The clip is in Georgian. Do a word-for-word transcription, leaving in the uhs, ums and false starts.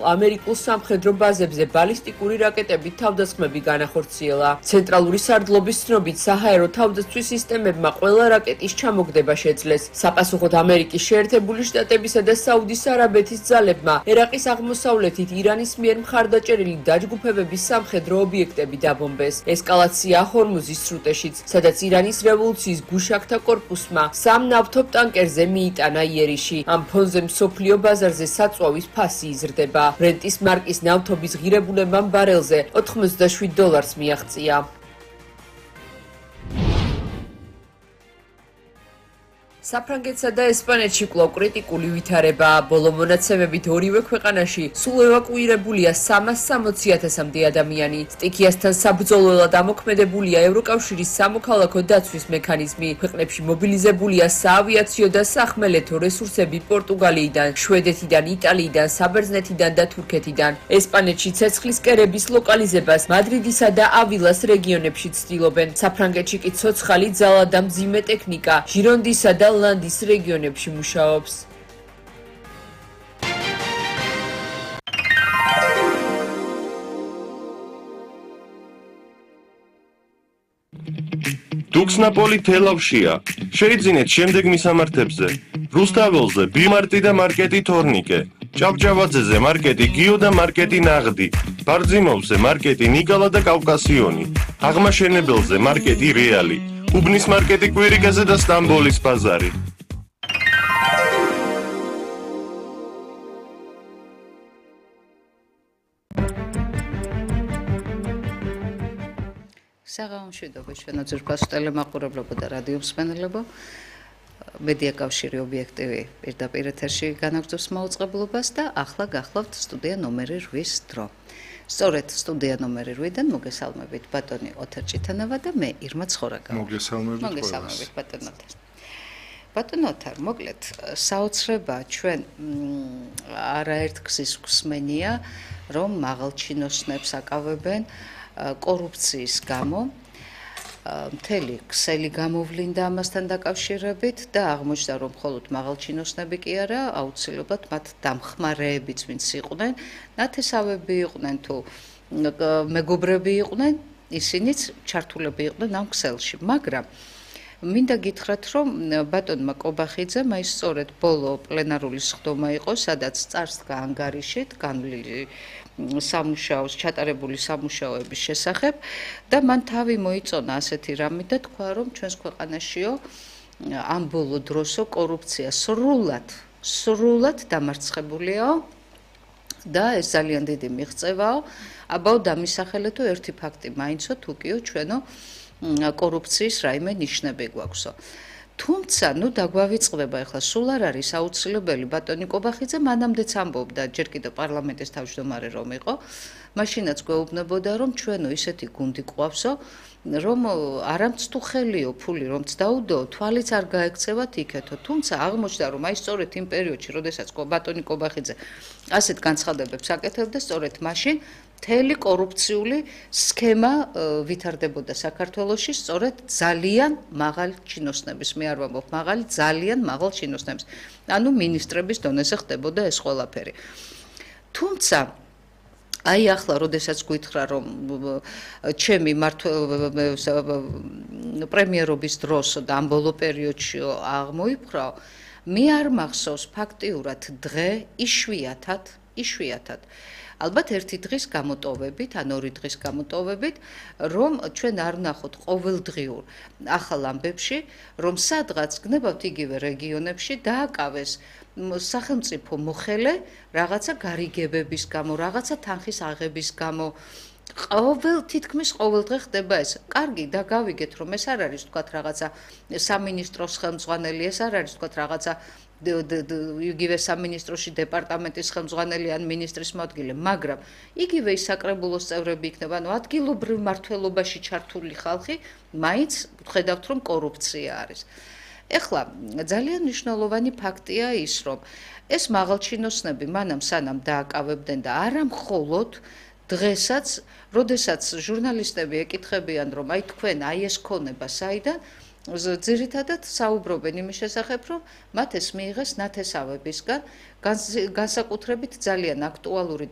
ამერიკულ სამხედრო ბაზებზე ბალისტიკური რაკეტებით თავდასხმები განახორციელა. ცენტრალური სარდლობის ცნობით, საჰაერო თავდაცვის სისტემებმა ყველა რაკეტის ჩამოგდება შეძლეს. საპასუხოდ ამერიკის შეერთებული შტატებისა და საუდის არაბეთის ძალებმა ერაყის აღმოსავლეთით ირანის მიერ მხარდაჭერილი დაჯგუფებების სამხედრო ობიექტები დაბომბეს. ესკალაცია ჰორმუზის სრუტეშიც, სადაც ირანის რევოლუციის გუშაქთა კორპუსმა სამ ნავთობ ტანკერზე მიიტანა იერიში. ამ ფონზე მსოფლიო ბაზარზე საწვავის ფასი იზრდება. ბრენტის მარკის ნავთობის ღირებულებამ ბარელზე ოთხმოცდაშვიდ დოლარს მიაღწია. საფრანგეთსა და ესპანეთში კვლავ კრიტიკული ვითარებაა. ბოლო მონაცემებით ორივე ქვეყანაში სულ ევაკუირებულია სამას სამოცი ათასამდე ადამიანი. სტიქიასთან საბრძოლველად ამოქმედებულია ევროკავშირის სამოქალაქო დაცვის მექანიზმი. ქვეყნებში მობილიზებულია საავიაციო და სახმელეთო რესურსები პორტუგალიიდან, შვედეთიდან, იტალიიდან, საბერძნეთიდან და თურქეთიდან. ესპანეთში ცეცხლის კერების ლოკალიზებას მადრიდისა და ავილას რეგიონებში ცდილობენ. საფრანგეთში კი ცოცხალი ძალა და მძიმე ტექნიკა ჟირონდისა და ლანდის რეგიონებში მუშაობს. დუქსნაპოლი თელავშია. შეიძინეთ შემდეგ მისამართებზე. რუსთაველზე ბიმარტი და მარკეტი თორნიკე. ჭავჭავაძეზე მარკეტი გიო და მარკეტი ნაღდი. ბარძიმოვზე მარკეტი ნიკალა და კავკასიონი. აღმაშენებელზე მარკეტი რეალი. უბნის მარკეტი კვირიკაზე და სტამბოლის ბაზარი. საღამომშვიდობა ჩვენო ძვირფასო ტელემაყურებლებო და რადიო მსმენელებო. მედია კავშირი ობიექტივი პირდაპირ ეთერში განაგრძობს მაუწყებლობას და ახლა გახლავთ სტუდია ნომერი რვის დრო. სწორედ სტუდია ნომერი რვიდან მოგესალმებით ბატონი ოთარ ჭიტანავა და მე ირმა ცხორაკავა. მოგესალმებით ყველას. მოგესალმებით ბატონ ოთარ. ბატონ ოთარ, მოკლედ საოცრება ჩვენ არაერთ გზის გვსმენია, რომ მაღალჩინოსნებს აკავებენ კორუფციის გამო. მთელი ქსელი გამოვლინდა ამასთან დაკავშირებით და აღმოჩნდა, რომ მხოლოდ მაღალჩინოსნები კი არა, აუცილებლად მათ დამხმარეებიც ვინც იყვნენ, ნათესავები იყვნენ თუ მეგობრები იყვნენ, ისინიც ჩართულები იყვნენ ამ ქსელში. მაგრამ მინდა გითხრათ, რომ ბატონმა კობახიძემ აი სწორედ ბოლო პლენარული სხდომა იყო, სადაც წარსდგა ანგარიშით განვლილი სამუშაოს, ჩატარებული სამუშაოების შესახებ და მან თავი მოიწონა ასეთი რამით და თქვა, რომ ჩვენს ქვეყანაშიო ამ ბოლო დროსო კორუფცია სრულად, სრულად დამარცხებულიაო და ეს ძალიან დიდი მიღწევაო. აბაო დამისახელეთო ერთი ფაქტი მაინცო თუკიო ჩვენო კორუფციის რაიმე ნიშნები გვაქვსო. თუმცა, ნუ დაგვავიწყდება ახლა სულ არ არის აუცილებელი ბატონი კობახიძე მანამდეც ამბობდა ჯერ კიდევ პარლამენტის თავმჯდომარე რომ იყო, მაშინაც გვეუბნებოდა რომ ჩვენო ისეთი გუნდი ყავსო, რომ არამც თუ ხელიო ფული რომც დაუდო, თვალიც არ გაექცევათ იქეთო. თუმცა აღმოჩნდა რომ აი სწორედ იმ პერიოდში, როდესაც ბატონი კობახიძე ასეთ განცხადებებს აკეთებდა, სწორედ მაშინ მთელი კორუფციული სქემა ვითარდებოდა საქართველოში სწორედ ძალიან მაღალ ჩინოსნების, მე არ ვამბობ მაღალი, ძალიან მაღალ ჩინოსნების. ანუ მინისტრების დონეზე ხდებოდა ეს ყველაფერი. თუმცა აი ახლა როდესაც გითხრა რომ ჩემი პრემიერობის დროს და ამ ბოლო პერიოდში აღმოიფხვრა, მე არ მახსოვს ფაქტიურად დღე იშვიათად, იშვიათად ალბათ ერთი დღის გამოტოვებით, ან ორი დღის გამოტოვებით, რომ ჩვენ არ ვნახოთ ყოველდღიურ ახალ ამბებში, რომ სადღაც გნებავთ იგივე რეგიონებში დააკავეს სახელმწიფო მოხელე რაღაცა გარიგებების გამო, რაღაცა თანხის აღების გამო. ყოველ თითქმის ყოველ დღე ხდება ეს. კარგი, და გავიგეთ, რომ ეს არ არის თქვათ რაღაცა სამინისტროს ხელმძღვანელი, ეს არ არის თქვათ რაღაცა იგივე სამინისტროში დეპარტამენტის ხელმძღვანელი ან მინისტრის მოადგილე, მაგრამ იგივე ის საკრებულოს წევრები იქნება, ანუ ადგილობრივ მართლობაში ჩართული ხალხი, მაინც ვხედავთ, რომ კორუფცია არის. ეხლა ძალიან მნიშვნელოვანი ფაქტია ის, რომ ეს მაღალჩინოსნები მანამ სანამ დააკავებდნენ და არა მხოლოდ დღესაც, როდესაც ჟურნალისტები ეკითხებიან, რომ აი თქვენ აი ეს ქონება საიდან, ძირითადად საუბრობენ იმის შესახებ, რომ მათ ეს მიიღეს ნათესავებისგან, განსაკუთრებით ძალიან აქტუალური